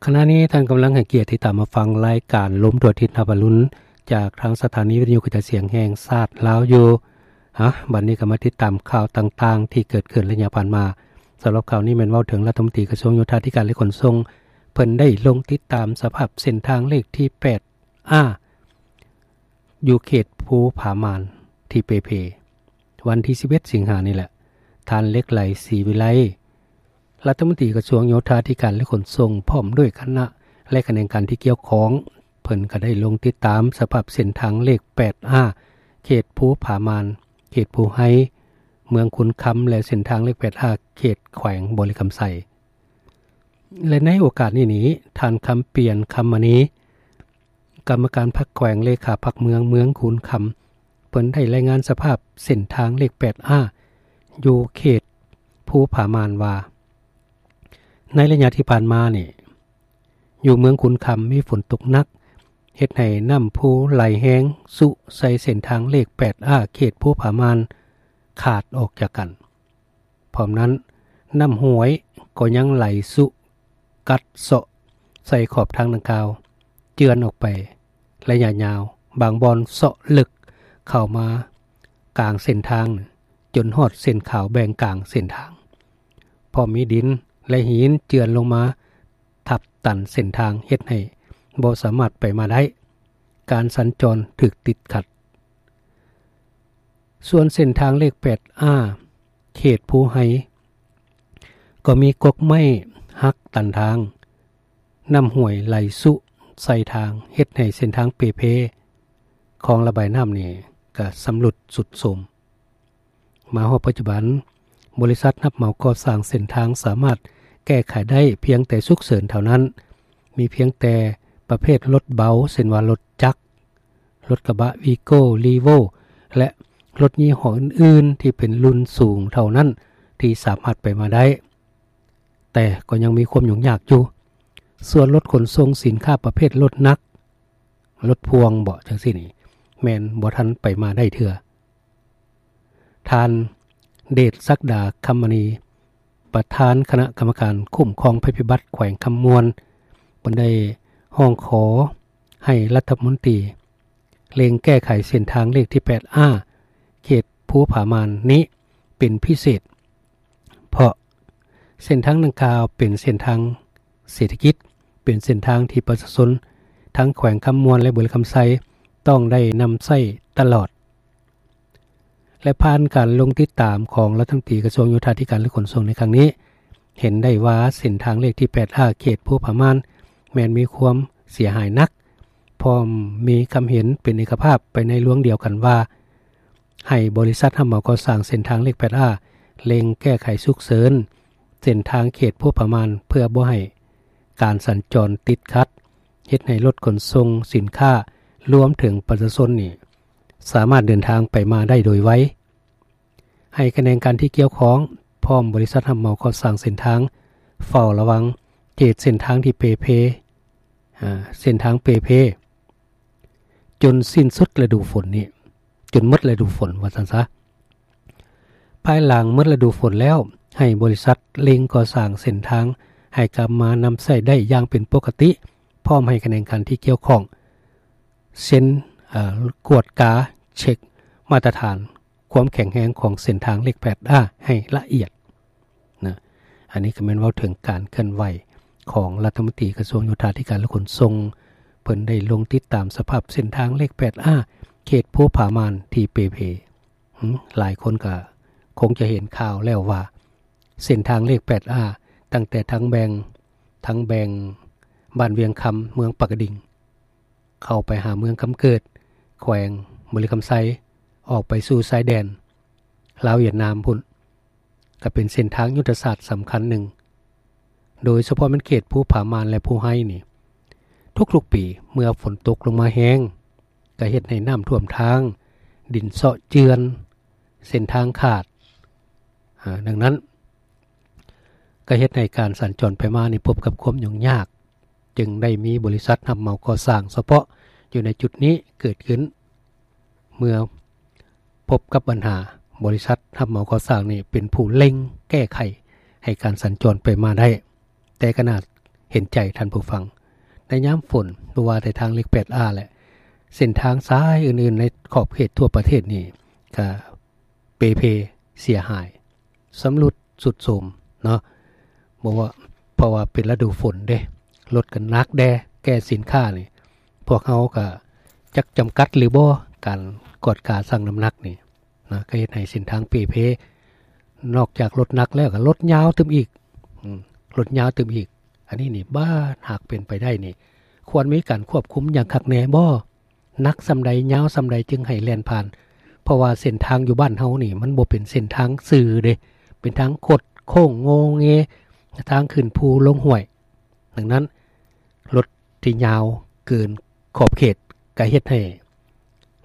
ຂະນະນີ້ທ່ານກຳລັງໃຫ້ກຽດຕິດຕາມມາຟັງລາຍການລົມທົ່ວທິດຮັບອະລຸນ ຈາກທາງສະຖານີວິທະຍຸກະຈາຍສຽງແຫ່ງຊາດລາວຢູ່. ຮະ ບັດນີ້ກໍມາຕິດຕາມຂ່າວຕ່າງໆທີ່ເກີດຂຶ້ນໄລຍະຜ່ານມາ. ສຳລັບຂ່າວນີ້ແມ່ນເວົ້າເຖິງລັດຖະມົນຕີກະຊວງໂຍທາທິການ ແລະ ຂົນສົ່ງ ເພິ່ນໄດ້ລົງຕິດຕາມສະພາບເສັ້ນທາງເລກທີແປດ ອາ ຢູ່ເຂດພູຜາມ່ານທີ່ເປ່ເພ ວັນທີສິບເອັດ ສິງຫານີ້ແຫຼະ. ທ່ານ ເຫຼັກໄຫຼ ສີວິໄລ ລັດຖະມົນຕີກະຊວງໂຍທາທິການ ແລະ ຂົນສົ່ງ ພ້ອມດ້ວຍຄະນະ ແລະ ຂະແໜງການທີ່ກ່ຽວຂ້ອງ ເພິ່ນກໍໄດ້ລົງຕິດຕາມສະພາບເສັ້ນທາງເລກແປດ ອາ ເຂດພູຜາມ່ານ ເຂດພູໄຮ ເມືອງຄຸນຄຳ ແລະ ເສັ້ນທາງເລກແປດ ອາ ເຂດແຂວງບໍລິຄຳໄຊ. ແລະ ໃນໂອກາດນີ້ນີ້ ທ່ານ ຄຳປຽນ ຄຳມະນີ ກຳມະການພັກແຂວງ ເລຂາພັກເມືອງ ເມືອງຄຸນຄຳ ເພິ່ນໄດ້ລາຍງານສະພາບເສັ້ນທາງເລກແປດ ອາ ຢູ່ເຂດພູຜາມ່ານວ່າ ໃນໄລຍະທີ່ຜ່ານມານີ້ ຢູ່ເມືອງຄຸນຄຳມີຝົນຕົກໜັກ ເຮັດໃຫ້ນ້ຳພູໄຫຼແຮງຊຸໃສ່ເສັ້ນທາງເລກແປດ ອາ ເຂດພູຜາມ່ານຂາດອອກຈາກກັນ. ພ້ອມນັ້ນ ນ້ຳຫ້ວຍກໍຍັງໄຫຼຊຸກັດເຊາະໃສ່ຂອບທາງດັ່ງກ່າວ ເຈື່ອນອອກໄປໄລຍະຍາວ, ບາງບ່ອນເຊາະເລິກເຂົ້າມາກາງເສັ້ນທາງ ຈົນຮອດເສັ້ນຂາວແບ່ງກາງເສັ້ນທາງ. ພ້ອມມີດິນ ແລະ ຫີນເຈື່ອນລົງມາທັບຕັນເສັ້ນທາງ ເຮັດໃຫ້ບໍ່ສາມາດໄປມາໄດ້, ການສັນຈອນຖືກຕິດຂັດ. ສ່ວນເສັ້ນທາງເລກແປດ ອາ ເຂດພູໄຮ ກໍມີກົກໄມ້ຫັກຕັນທາງ, ນ້ຳຫ້ວຍໄຫຼຊຸໃສ່ທາງ ເຮັດໃຫ້ເສັ້ນທາງເປ່ເພ, ຄອງລະບາຍນ້ຳນີ້ກໍຊຳລຸດຊຸດໂຊມ. ມາຮອດປັດຈຸບັນ, ບໍລິສັດຮັບເໝົາກໍ່ສ້າງເສັ້ນທາງສາມາດແກ້ໄຂໄດ້ພຽງແຕ່ສຸກເສີນເທົ່ານັ້ນ, ມີພຽງແຕ່ປະເພດລົດເບົາ ເຊັ່ນວ່າລົດຈັກ, ລົດກະບະວີໂກ້ ລີໂວ້ ແລະ ລົດຍີ່ຫໍ້ອື່ນໆທີ່ເປັນລຸ້ນສູງເທົ່ານັ້ນທີ່ສາມາດໄປມາໄດ້, ແຕ່ກໍຍັງມີຄວາມຫຍຸ້ງຍາກຢູ່. ສ່ວນລົດຂົນສົ່ງສິນຄ້າປະເພດລົດໜັກ, ລົດພ່ວງເບາະ ຈັ່ງຊີ້ນີ້ ແມ່ນບໍ່ທັນໄປມາໄດ້ເທື່ອ. ທ່ານ ເດດສັກດາ ຄຳມະນີ ປະທານຄະນະກຳມະການຄຸ້ມຄອງໄພພິບັດແຂວງຄຳມ່ວນ ເພິ່ນໄດ້ຮ້ອງຂໍໃຫ້ລັດຖະມົນຕີເລັ່ງແກ້ໄຂເສັ້ນທາງເລກທີແປດ ອາ ເຂດພູຜາມ່ານນີ້ເປັນພິເສດ, ເພາະເສັ້ນທາງດັ່ງກ່າວເປັນເສັ້ນທາງເສດຖະກິດ, ເປັນເສັ້ນທາງທີ່ປະຊາຊົນທັງແຂວງຄຳມ່ວນ ແລະ ບໍລິຄຳໄຊ ຕ້ອງໄດ້ນຳໃຊ້ຕະຫຼອດ. ແລະ ຜ່ານການລົງຕິດຕາມຂອງລັດຖະມົນຕີກະຊວງໂຍທາທິການ ແລະ ຂົນສົ່ງໃນຄັ້ງນີ້ ເຫັນໄດ້ວ່າເສັ້ນທາງເລກທີແປດ ອາ ເຂດພູຜາມ່ານ ແມ່ນມີຄວາມເສຍຫາຍໜັກ, ພ້ອມມີຄຳເຫັນເປັນເອກະພາບໄປໃນລວງດຽວກັນວ່າ ໃຫ້ບໍລິສັດຮັບເໝົາກໍ່ສ້າງເສັ້ນທາງເລກແປດ ອາ ເລັ່ງແກ້ໄຂສຸກເສີນເສັ້ນທາງເຂດພູຜາມ່ານ ເພື່ອບໍ່ໃຫ້ການສັນຈອນຕິດຂັດ, ເຮັດໃຫ້ລົດຂົນສົ່ງສິນຄ້າ ລວມເຖິງປະຊາຊົນນີ້ ສາມາດເດີນທາງໄປມາໄດ້ໂດຍໄວ. ໃຫ້ຂະແໜງການທີ່ກ່ຽວຂ້ອງ ພ້ອມບໍລິສັດຮັບເໝົາກໍ່ສ້າງເສັ້ນທາງ ເຝົ້າລະວັງເຂດເສັ້ນທາງທີ່ເປ່ເພ, ອາ, ເສັ້ນທາງເປ່ເພ ຈົນສິ້ນສຸດລະດູຝົນນີ້, ຈົນໝົດລະດູຝົນ ວ່າຊັ້ນຊະ. ພາຍຫຼັງໝົດລະດູຝົນແລ້ວ, ໃຫ້ບໍລິສັດເລັ່ງກໍ່ສ້າງເສັ້ນທາງໃຫ້ກັບມານຳໃຊ້ໄດ້ຢ່າງເປັນປົກກະຕິ, ພ້ອມໃຫ້ຂະແໜງການທີ່ກ່ຽວຂ້ອງ ເຊັ່ນ, ເອ່ອ, ກວດກາເຊັກມາດຕະຖານຄວາມແຂງແຮງຂອງເສັ້ນທາງເລກແປດ ອາ ໃຫ້ລະອຽດນະ. ອັນນີ້ກໍແມ່ນເວົ້າເຖິງການເຄື່ອນໄຫວຂອງລັດຖະມົນຕີກະຊວງໂຍທາທິການ ແລະ ຂົນສົ່ງ, ເພິ່ນໄດ້ລົງຕິດຕາມສະພາບເສັ້ນທາງເລກແປດ ອາ ເຂດພູຜາມ່ານທີ່ເປ່ເພ. ຫາ ຫຼາຍຄົນກໍຄົງຈະເຫັນຂ່າວແລ້ວວ່າ ເສັ້ນທາງເລກແປດ ອາ ຕັ້ງແຕ່ທາງແບ່ງ, ທາງແບ່ງບ້ານວຽງຄຳ ເມືອງປາກກະດິງ ເຂົ້າໄປຫາເມືອງຄຳເກີດ ແຂວງບໍລິຄຳໄຊ ອອກໄປສູ່ຊາຍແດນລາວຫວຽດນາມພຸ້ນ ກໍເປັນເສັ້ນທາງຍຸດທະສາດສຳຄັນໜຶ່ງ, ໂດຍສະເພາະແມ່ນເຂດພູຜາມ່ານ ແລະ ພູໄຮນີ້. ທຸກໆປີເມື່ອຝົນຕົກລົງມາແຮງ ກໍເຮັດໃຫ້ນ້ຳຖ້ວມທາງ, ດິນເຊາະເຈື່ອນ, ເສັ້ນທາງຂາດ, ອາ, ດັ່ງນັ້ນ ກໍເຮັດໃຫ້ການສັນຈອນໄປມານີ້ພົບກັບຄວາມຫຍຸ້ງຍາກ, ຈຶ່ງໄດ້ມີບໍລິສັດຮັບເໝົາກໍ່ສ້າງສະເພາະຢູ່ໃນຈຸດນີ້ເກີດຂຶ້ນ. ເມື່ອພົບກັບບັນຫາ, ບໍລິສັດຮັບເໝົາກໍ່ສ້າງນີ້ເປັນຜູ້ເລັ່ງແກ້ໄຂໃຫ້ການສັນຈອນໄປມາໄດ້, ແຕ່ຂະໜາດ ປັນໃຈທ່ານຜູ້ຟັງ. ໃນຍາມຝົນ ບໍ່ວ່າແຕ່ທາງເລກແປດອາ ແລະ ເສັ້ນທາງສາຍອື່ນໆໃນຂອບເຂດທົ່ວປະເທດນີ້ ກະເປ່ເພເສຍຫາຍ ຊຳລຸດຊຸດໂຊມເນາະ. ບໍ່ວ່າ ເພາະວ່າເປັນລະດູຝົນເດ້ ລົດກໍໜັກແດ່ ແກ່ສິນຄ້ານີ້ ພວກເຮົາກໍຈັກຈຳກັດຫຼືບໍ່ ການກວດກາຊັ່ງນ້ຳໜັກນີ້ນະ ກໍເຮັດໃຫ້ເສັ້ນທາງເປ່ເພ ນອກຈາກລົດໜັກແລ້ວ ກໍລົດຍາວຕື່ມອີກ ອືມ ລົດຍາວຕື່ມອີກ. ອັນນີ້ນີ້ ບາດຫາກເປັນໄປໄດ້ນີ້ ຄວນມີການຄວບຄຸມຢ່າງຄັກແນ່ບໍ່? ໜັກສ່ຳໃດ ຍາວສ່ຳໃດ ຈຶ່ງໃຫ້ແລ່ນຜ່ານ? ເພາະວ່າເສັ້ນທາງຢູ່ບ້ານເຮົານີ້ ມັນບໍ່ເປັນເສັ້ນທາງຊື່ເດ້ ເປັນທາງຄົດໂຄ້ງໂງເງ ທາງຂຶ້ນພູລົງຫ້ວຍ. ດັ່ງນັ້ນ ລົດທີ່ຍາວເກີນຂອບເຂດ ກໍເຮັດໃຫ້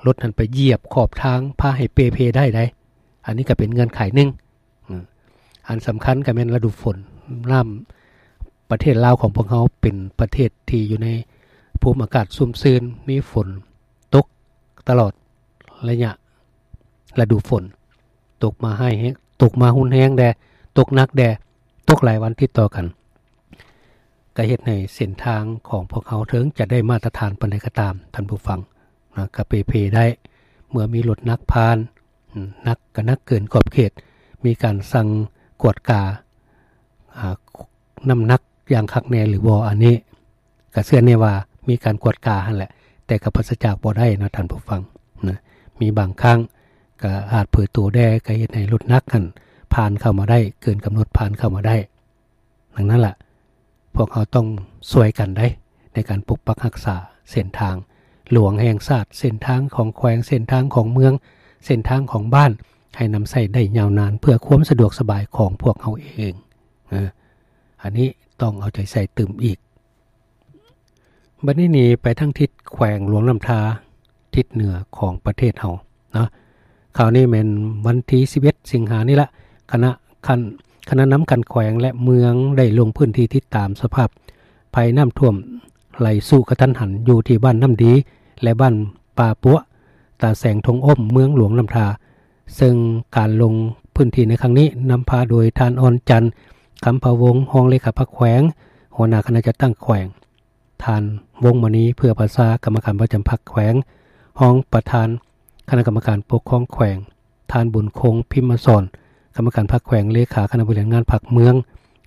ລົດນັ້ນໄປຢຽບຂອບທາງ ພາໃຫ້ເປ່ເພໄດ້ໃດ໋. ອັນນີ້ກໍເປັນເງື່ອນໄຂໜຶ່ງ. ອືມ ອັນສຳຄັນກໍແມ່ນລະດູຝົນ ນ້ຳ ປະເທດລາວຂອງພວກເຮົາເປັນປະເທດທີ່ຢູ່ໃນພູມອາກາດຊຸ່ມຊື່ນ ມີຝົນຕົກຕະຫຼອດໄລຍະລະດູຝົນ ຕົກມາຮ້າຍແຮງ ຕົກມາຮຸນແຮງແດ່ ຕົກໜັກແດ່ ຕົກຫຼາຍວັນຕິດຕໍ່ກັນ ກໍເຮັດໃຫ້ເສັ້ນທາງຂອງພວກເຮົາ ເຖິງຈະໄດ້ມາດຕະຖານປານໃດກໍຕາມ ທ່ານຜູ້ຟັງນະ ກໍເປ່ເພໄດ້ ເມື່ອມີລົດໜັກຜ່ານ ອືມ ໜັກກໍໜັກເກີນຂອບເຂດ ມີການສັ່ງກວດກາ ອາ ນ້ຳໜັກຢ່າງຄັກແນ່ຫຼືບໍ່ ອັນນີ້ກໍເຊື່ອແນ່ວ່າມີການກວດກາຫັ້ນແຫຼະ ແຕ່ກໍປາສະຈາກບໍ່ໄດ້ນະທ່ານຜູ້ຟັງນະ. ມີບາງຄັ້ງກໍອາດເຜີໂຕແດ່ ກໍເຮັດໃຫ້ລົດໜັກຫັ້ນຜ່ານເຂົ້າມາໄດ້ ເກີນກຳນົດຜ່ານເຂົ້າມາໄດ້. ດັ່ງນັ້ນລະ ພວກເຮົາຕ້ອງຊ່ວຍກັນໄດ໋ ໃນການປົກປັກຮັກສາເສັ້ນທາງຫຼວງແຫ່ງຊາດ, ເສັ້ນທາງຂອງແຂວງ, ເສັ້ນທາງຂອງເມືອງ, ເສັ້ນທາງຂອງບ້ານ ໃຫ້ນຳໃຊ້ໄດ້ຍາວນານ ເພື່ອຄວາມສະດວກສະບາຍຂອງພວກເຮົາເອງ. ເອີ ອັນນີ້ຕ້ອງເອົາໃຈໃສ່ຕື່ມອີກ. ບັດນີ້ນີ້ໄປທາງທິດແຂວງຫຼວງນ້ຳທາ ທິດເໜືອຂອງປະເທດເຮົາເນາະ. ຂ່າວນີ້ແມ່ນວັນທີສິບເອັດ ສິງຫານີ້ລະ ຄະນະຂັ້ນ ຄະນະນຳຂັ້ນແຂວງ ແລະ ເມືອງ ໄດ້ລົງພື້ນທີ່ຕິດຕາມສະພາບໄພນ້ຳຖ້ວມໄຫຼຊຸກະທັນຫັນ ຢູ່ທີ່ບ້ານນ້ຳດີ ແລະ ບ້ານປ່າປົວ ຕາແສງ ທົ່ງອົ້ມ ເມືອງຫຼວງນ້ຳທາ. ເຊິ່ງການລົງພື້ນທີ່ໃນຄັ້ງນີ້ ນຳພາໂດຍທ່ານ ອ່ອນຈັນ ຄຳພະວົງ ຮອງເລຂາພັກແຂວງ, ຫົວໜ້າຄະນະຈັດຕັ້ງແຂວງ, ທ່ານ ວົງມະນີ ເຜື່ອພາສາ ກຳມະການປະຈຳພັກແຂວງ, ຮອງປະທານຄະນະກຳມະການປົກຄອງແຂວງ, ທ່ານ ບຸນຄົງ ພິມມະສອນ ກຳມະການພັກແຂວງ, ເລຂາຄະນະບໍລິຫານງານພັກເມືອງ,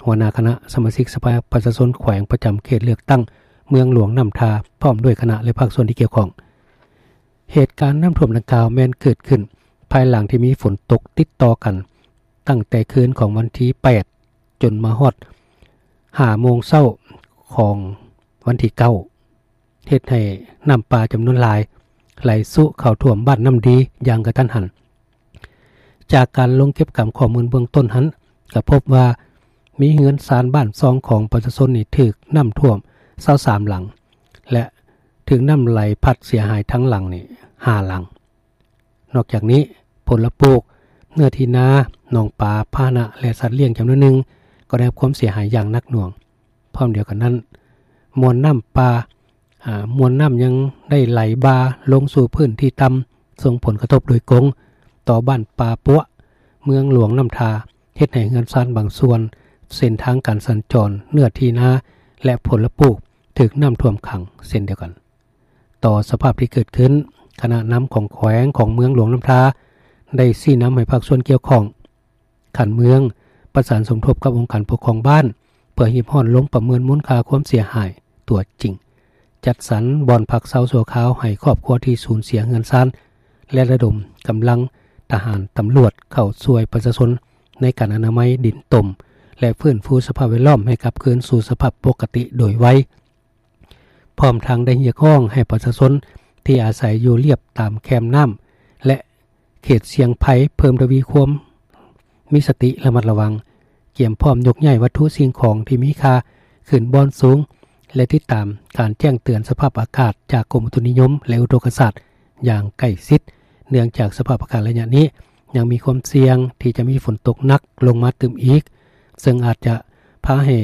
ຫົວໜ້າຄະນະສະມາຊິກສະພາປະຊາຊົນແຂວງ ປະຈຳເຂດເລືອກຕັ້ງເມືອງຫຼວງນ້ຳທາ ພ້ອມດ້ວຍຄະນະ ແລະ ພາກສ່ວນທີ່ກ່ຽວຂ້ອງ. ເຫດການນ້ຳຖ້ວມດັ່ງກ່າວແມ່ນເກີດຂຶ້ນພາຍຫຼັງທີ່ມີຝົນຕົກຕິດຕໍ່ກັນ ຕັ້ງແຕ່ຄືນຂອງວັນທີແປດ ຈົນມາຮອດຫ້າໂມງເຊົ້າຂອງວັນທີເກົ້າ ເຮັດໃຫ້ນ້ຳປ່າຈຳນວນຫຼາຍໄຫຼຊຸເຂົ້າຖ້ວມບ້ານນ້ຳດີຢ່າງກະທັນຫັນ. ຈາກການລົງເກັບກຳຂໍ້ມູນເບື້ອງຕົ້ນຫັ້ນ ກໍພົບວ່າມີເຮືອນຊານບ້ານຊ່ອງຂອງປະຊາຊົນນີ້ຖືກນ້ຳຖ້ວມຊາວສາມຫຼັງ ແລະ ຖືກນ້ຳໄຫຼພັດເສຍຫາຍທັງຫຼັງນີ້ຫ້າຫຼັງ. ນອກຈາກນີ້ ຜົນລະປູກ, ເນື້ອທີ່ນາ, ໜອງປາ, ພາຫະນະ ແລະ ສັດລ້ຽງຈຳນວນໜຶ່ງກໍໄດ້ຮັບຄວາມເສຍຫາຍຢ່າງໜັກໜ່ວງ. ພ້ອມດຽວກັນນັ້ນ ມວນນ້ຳປ່າ ອາ ມວນນ້ຳຍັງໄດ້ໄຫຼບ່າລົງສູ່ພື້ນທີ່ຕ່ຳ ສົ່ງຜົນກະທົບໂດຍກົງຕໍ່ບ້ານປ່າປົວ ເມືອງຫຼວງນ້ຳທາ ເຮັດໃຫ້ເຮືອນຊານບາງສ່ວນ, ເສັ້ນທາງການສັນຈອນ, ເນື້ອທີ່ນາ ແລະ ຜົນລະປູກຖືກນ້ຳຖ້ວມຂັງເຊັ່ນດຽວກັນ. ຕໍ່ສະພາບທີ່ເກີດຂຶ້ນ, ຄະນະນຳຂອງແຂວງ, ຂອງເມືອງຫຼວງນ້ຳທາ ໄດ້ຊີ້ນຳໃຫ້ພາກສ່ວນກ່ຽວຂ້ອງຂັ້ນເມືອງ ປະສານສົມທົບກັບອົງການປົກຄອງບ້ານ ເພື່ອຮີບຮ້ອນລົງປະເມີນມູນຄ່າຄວາມເສຍຫາຍຕົວຈິງ, ຈັດສັນບ່ອນພັກເຊົາຊົ່ວຄາວໃຫ້ຄອບຄົວທີ່ສູນເສຍເຮືອນຊານ ແລະ ລະດົມກຳລັງທະຫານ, ຕຳຫຼວດເຂົ້າຊ່ວຍປະຊາຊົນໃນການອະນາໄມດິນຕົມ ແລະ ຟື້ນຟູສະພາບແວດລ້ອມໃຫ້ກັບຄືນສູ່ສະພາບປົກກະຕິໂດຍໄວ. ພ້ອມທັງໄດ້ຮຽກຮ້ອງໃຫ້ປະຊາຊົນທີ່ອາໄສຢູ່ລຽບຕາມແຄມນ້ຳ ແລະ ເຂດສ່ຽງໄພ ເພີ່ມທະວີຄວາມມີສະຕິລະມັດລະວັງ, ກຽມພ້ອມຍົກຍ້າຍວັດຖຸສິ່ງຂອງທີ່ມີຄ່າຂຶ້ນບ່ອນສູງ ແລະ ຕິດຕາມການແຈ້ງເຕືອນສະພາບອາກາດຈາກກົມອຸຕຸນິຍົມ ແລະ ອຸທົກກະສາດຢ່າງໃກ້ຊິດ, ເນື່ອງຈາກສະພາບອາກາດໄລຍະນີ້ຍັງມີຄວາມສ່ຽງທີ່ຈະມີຝົນຕົກໜັກລົງມາຕື່ມອີກ, ເຊິ່ງອາດຈະພາໃຫ້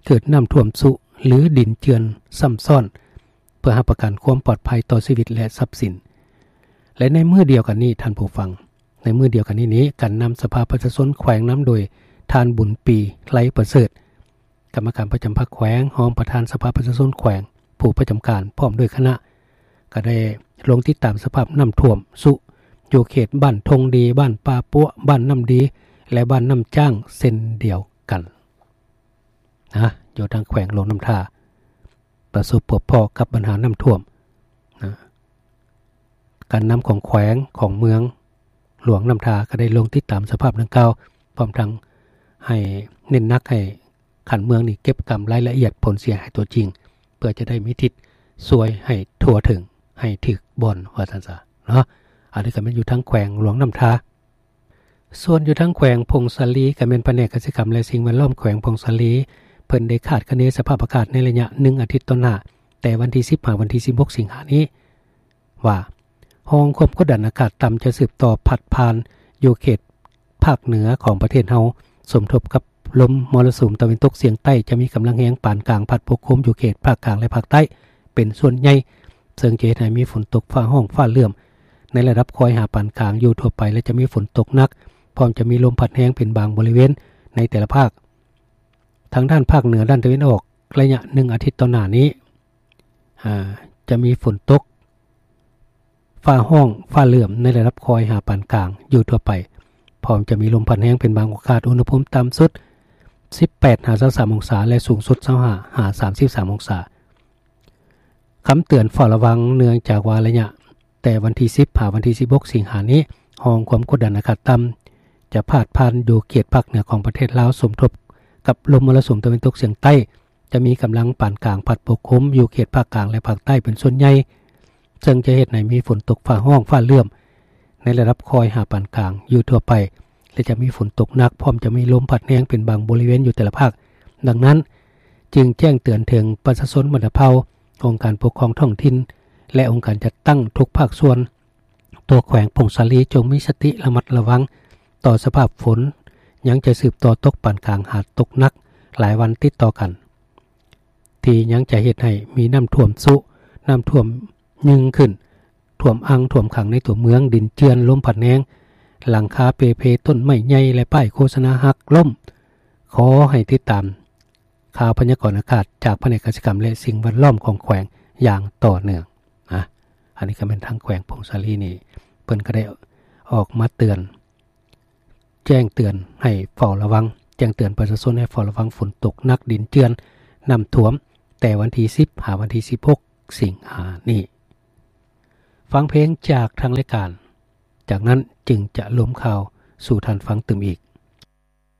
ເກີດນ້ຳຖ້ວມຊຸ ຫຼື ດິນເຈື່ອນຊ້ຳຊ້ອນ ເພື່ອຮັບປະກັນຄວາມປອດໄພຕໍ່ຊີວິດ ແລະ ຊັບສິນ. ແລະ ໃນມື້ດຽວກັນນີ້ ທ່ານຜູ້ຟັງ, ໃນມື້ດຽວກັນນີ້ນີ້ ການນຳສະພາປະຊາຊົນແຂວງນຳໂດຍທ່ານ ບຸນປີ ໄລປະເສີດ ກຳມະການປະຈຳພັກແຂວງ, ຮອງປະທານສະພາປະຊາຊົນແຂວງ, ຜູ້ປະຈຳການ ພ້ອມດ້ວຍຄະນະ ກໍໄດ້ລົງຕິດຕາມສະພາບນ້ຳຖ້ວມຊຸຢູ່ເຂດບ້ານທົ່ງດີ, ບ້ານປ່າປົວ, ບ້ານນ້ຳດີ ແລະ ບ້ານນ້ຳຈ້າງເຊັ່ນດຽວກັນນະ. ຢູ່ທາງແຂວງຫຼວງນ້ຳທາ ປະສົບພົບພໍ້ກັບບັນຫານ້ຳຖ້ວມນະ. ການນຳຂອງແຂວງ, ຂອງເມືອງຫຼວງນ້ຳທາ ກໍໄດ້ລົງຕິດຕາມສະພາບດັ່ງກ່າວ, ພ້ອມທັງໃຫ້ເນັ້ນໜັກໃຫ້ຂັ້ນເມືອງນີ້ເກັບກຳລາຍລະອຽດຜົນເສຍຫາຍຕົວຈິງ ເພື່ອຈະໄດ້ມີທິດຊ່ວຍໃຫ້ທົ່ວເຖິງ, ໃຫ້ຖືກບ່ອນ ວ່າຊັ້ນຊະເນາະ. ອັນນີ້ກໍແມ່ນຢູ່ທາງແຂວງຫຼວງນ້ຳທາ. ສ່ວນຢູ່ທາງແຂວງຜົ້ງສາລີ ກໍແມ່ນພະແນກກະສິກຳ ແລະ ສິ່ງແວດລ້ອມແຂວງຜົ້ງສາລີ ເພິ່ນໄດ້ຄາດຄະເນສະພາບອາກາດໃນໄລຍະໜຶ່ງອາທິດຕໍ່ໜ້າ ແຕ່ວັນທີສິບຫາວັນທີສິບຫົກສິງຫານີ້ວ່າ ຮ່ອງຄວາມກົດດັນອາກາດຕ່ຳຈະສືບຕໍ່ພັດຜ່ານຢູ່ເຂດພາກເໜືອຂອງປະເທດເຮົາ ສົມທົບກັບລົມມໍລະສຸມຕາເວັນຕົກສຽງໃຕ້ ຈະມີກຳລັງແຮງປານກາງ ພັດປົກຄຸມຢູ່ເຂດພາກກາງ ແລະ ພາກໃຕ້ເປັນສ່ວນໃຫຍ່ ເຊິ່ງຈະເຮັດໃຫ້ມີຝົນຕົກຟ້າຮ້ອງຟ້າເຫຼື້ອມ ໃນລະດັບຄ່ອຍຫາປານກາງຢູ່ທົ່ວໄປ ແລະ ຈະມີຝົນຕົກໜັກ ພ້ອມຈະມີລົມພັດແຮງເປັນບາງບໍລິເວນໃນແຕ່ລະພາກ. ທາງດ້ານພາກເໜືອດ້ານຕາເວັນອອກ ໄລຍະໜຶ່ງອາທິດຕໍ່ໜ້ານີ້ ອາ ຈະມີຝົນຕົກ ຟ້າຮ້ອງຟ້າເຫຼື້ອມໃນລະດັບຄ່ອຍຫາປານກາງຢູ່ທົ່ວໄປ ພ້ອມຈະມີລົມພັດແຮງເປັນບາງໂອກາດ, ອຸນຫະພູມຕ່ຳສຸດ ສິບແປດຫາຊາວສາມອົງສາ ແລະ ສູງສຸດ ຊາວຫ້າຫາສາມສິບສາມອົງສາ. ຄຳເຕືອນເຝົ້າລະວັງ ເນື່ອງຈາກວ່າໄລຍະແຕ່ວັນທີສິບຫາວັນທີສິບຫົກສິງຫານີ້ ຮ່ອງຄວາມກົດດັນອາກາດຕ່ຳ ຈະພາດຜ່ານຢູ່ເຂດພາກເໜືອຂອງປະເທດລາວ ສົມທົບກັບລົມມໍລະສຸມຕາເວັນຕົກສຽງໃຕ້ ຈະມີກຳລັງປານກາງພັດປົກຄຸມຢູ່ເຂດພາກກາງ ແລະ ພາກໃຕ້ເປັນສ່ວນໃຫຍ່ ເຊິ່ງຈະເຮັດໃຫ້ມີຝົນຕົກຟ້າຮ້ອງຟ້າເຫຼື້ອມໃນລະດັບຄ່ອຍຫາປານກາງຢູ່ທົ່ວໄປ ແລະ ຈະມີຝົນຕົກໜັກ ພ້ອມຈະມີລົມພັດແຮງເປັນບາງບໍລິເວນຢູ່ແຕ່ລະພາກ. ດັ່ງນັ້ນ ຈຶ່ງແຈ້ງເຕືອນເຖິງປະຊາຊົນບັນດາເຜົ່າ, ອົງການປົກຄອງທ້ອງຖິ່ນ ແລະ ອົງການຈັດຕັ້ງທຸກພາກສ່ວນ ຕົວແຂວງຜົ້ງສາລີ ຈົ່ງມີສະຕິລະມັດລະວັງຕໍ່ສະພາບຝົນ ຍັງຈະສືບຕໍ່ຕົກປານກາງຫາຕົກໜັກຫຼາຍວັນຕິດຕໍ່ກັນ ທີ່ຍັງຈະເຮັດໃຫ້ມີນ້ຳຖ້ວມຊຸ, ນ້ຳຖ້ວມຍືງຂຶ້ນ, ຖ້ວມອັ່ງ, ຖ້ວມຂັງໃນຕົວເມືອງ, ດິນເຈື່ອນ, ລົມພັດແຮງ, ຫຼັງຄາເປ່ເພ, ຕົ້ນໄມ້ໃຫຍ່ ແລະ ປ້າຍໂຄສະນາຫັກລົ້ມ. ຂໍໃຫ້ຕິດຕາມຂ່າວພະຍາກອນອາກາດຈາກພະແນກກະສິກຳ ແລະ ສິ່ງແວດລ້ອມຂອງແຂວງຢ່າງຕໍ່ເນື່ອງນະ. ອັນນີ້ກໍແມ່ນທາງແຂວງຜົ້ງສາລີນີ້ ເພິ່ນກໍໄດ້ອອກມາເຕືອນ ແຈ້ງເຕືອນໃຫ້ເຝົ້າລະວັງ, ແຈ້ງເຕືອນປະຊາຊົນໃຫ້ເຝົ້າລະວັງຝົນຕົກໜັກ, ດິນເຈື່ອນ, ນ້ຳຖ້ວມ ແຕ່ວັນທີສິບຫາວັນທີສິບຫົກສິງຫານີ້. ຟັງເພງຈາກທາງລາຍການ, ຈາກນັ້ນຈຶ່ງຈະລົມຂ່າວສູ່ທ່ານຟັງຕື່ມອີກ.